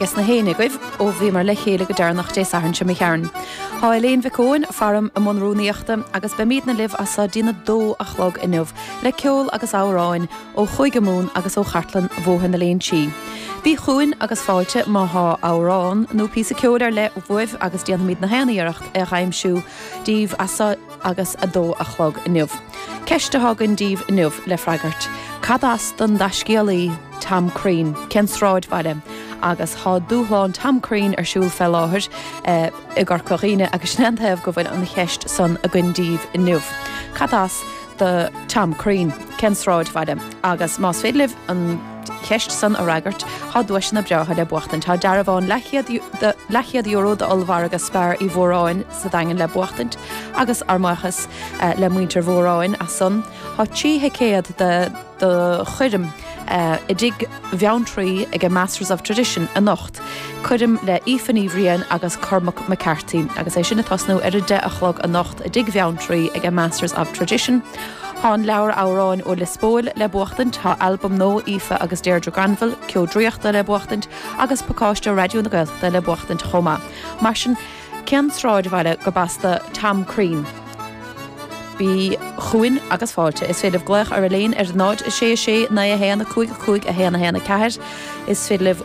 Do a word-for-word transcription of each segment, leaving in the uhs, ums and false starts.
Ges na héinne agaibh ó bhíomar le chéile go deireanach Dé Sathairn seo imigh tharainn. Tá Elaine Mhic Eoin faram i mbun rúnaíochta agus beimidne libh as so dtí'n a dó a chlog inniu le ceol agus amhráin ó Chúige Mumhan agus ó chartlann Bhóthar na Léinsí. Bí chugainn agus fáilte má thá amhrán nó píosa ceoil ar leith uaibh agus déanfaimid na haon iarracht é a aimsiú díbh as so agus a dó a chlog inniu. Ceist atá againn díbh inniu le freagairt. Cad as don dtaiscéalaí Tom Crean, cén sráidbhaile, agus thá dúshlán Tom Crean ar siúl fé láthair eh, i gCorca Dhuibhne agus sin an taobh go bhfuil an cheist san againn díbh inniu. Cad as do Tom Crean, cén sráidbhaile, agus más féidir libh an cheist san a fhreagairt thá duaiseanna breátha le buachtaint. Tá dearbhán leathchéad euro d'ollmhargadh Spar Uí Mhóráin sa Daingean le buachtaint agus ár mbuíochas eh, le muintir Mhóráin as san. Thá trí thicéad de do choirm eh, i dTigh Bheanntraí ag a Masters of Tradition anocht. Coirm le Aoife Ní Bhriain agus Cormac McCarthy agus é sin ag tosnú ar a deich a chlog anocht i dTigh Bheanntraí ag a Masters of Tradition. Thá an leabhar amhráin ó Liospóil le buachtaint, thá albam nua Aoife agus Deirdre Granville, Ceo Draíochta le buachtaint agus pacáiste Raidió na Gaeltachta le buachtaint chomh maith. Mar sin cén sráidbhaile gurb as do Tom Crean. Bí chugainn agus fáilte. Is féidir glaoch ar Elaine ar náid a sé sé naoi a haon a cúig a cúig a haon a haon a ceathair. Is féidir libh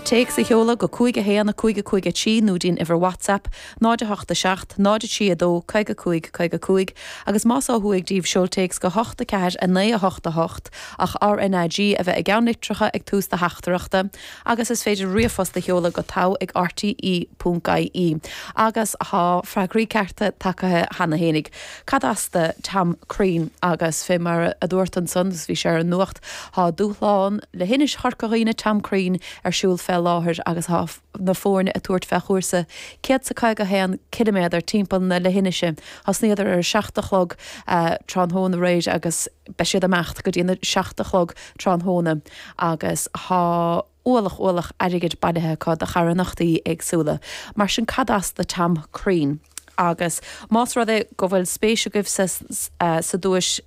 téacs a sheoladh go cúig a haon a cúig a cúig a trí nó dtí'n uimhir WhatsApp, náid a hocht a seacht, náid a trí a dó, caoga cúig caoga cúig, agus más ó thuaidh díbh seol téacs go hocht a ceathair a naoi a hocht a hocht ach RNAG a bheith i gceann litreacha ag tús do theachtaireachta, agus is féidir ríomhphost a sheoladh go togha ag RTE ponc IE. Agus thá freagraí cearta tagtha cheana fhéinig. Cad as do Tom Crean agus fé mar a dúirt ansan bhí sé ar an nuacht thá dúshlán leithinis Chorca Dhuibhne Tom Crean ar siúl fé láthair agus thá na foirne ag tabhairt fé chúrsa céad is caoga haon ciliméadar timpeall na leithinise. Thosnaíodar ar a seacht a chlog tráthnóna aréir agus beidh siad ag imeacht go dtí na seacht a chlog tráthnóna agus thá ualach ualach airgid bailithe acu do charthanachtaí éagsúla. Mar sin cad as do Tom Crean. Agus más rud é go bhfuil spéis agaibh sa, sa duais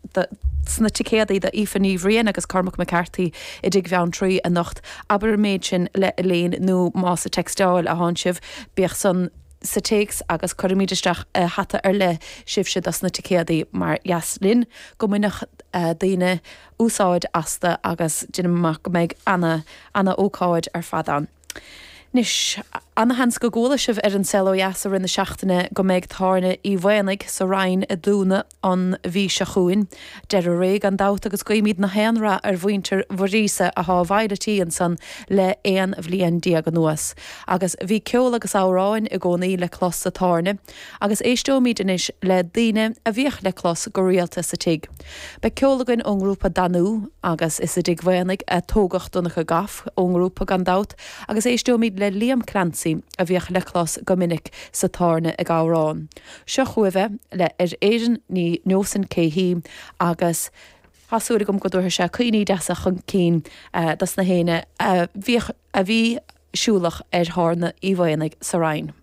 sna ticéadaí do Aoife Ní Bhriain agus Cormac McCarthy i dTigh Bheanntraí anocht, abair an méid sin le Elaine nó más ag textáil atánn sibh, bíodh san sa téacs agus cuirfimid isteach hata ar leith sibhse dos na ticéadaí mar dheas linn go mbainfeadh daoine úsáid astu agus déanaim amach go mbeidh ana ana ócáid ar fad ann. Anois, ana-sheans go gcuala sibh ar An Saol Ó Dheas i rith na seachtaine go mbeidh Tábhairne Uí Mhaonaigh sa Rinn ag dúnadh an mhí seo chugainn. Deireadh ré gan dabht agus guímid na haon rath ar mhuintir Mhuiríosa athá i bhfeighil an tí ansan le aon bhliain déag anuas. Agus bhí ceol agus amhráin i gcónaí le clos sa tábhairne, agus éisteoimid anois le daoine a bhíodh le clos go rialta sa tigh. Beidh ceol againn ón ngrúpa Danú agus is i dTigh Mhaonaigh a tógadh Donncha Goff ón ngrúpa gan dabht agus éisteoimid le Liam Clancy a bhíodh le clos go minic sa tábhairne ag amhrán. Seo chugaibh é le Ar Éirinn ní neosfainn cé hí agus tá súil agam go dtabharfaidh sé cuimhní deasa chun cinn dos na héinne a bhíodh a bhí siúlach ar thábhairne Uí Mhaonaigh sa Rinn.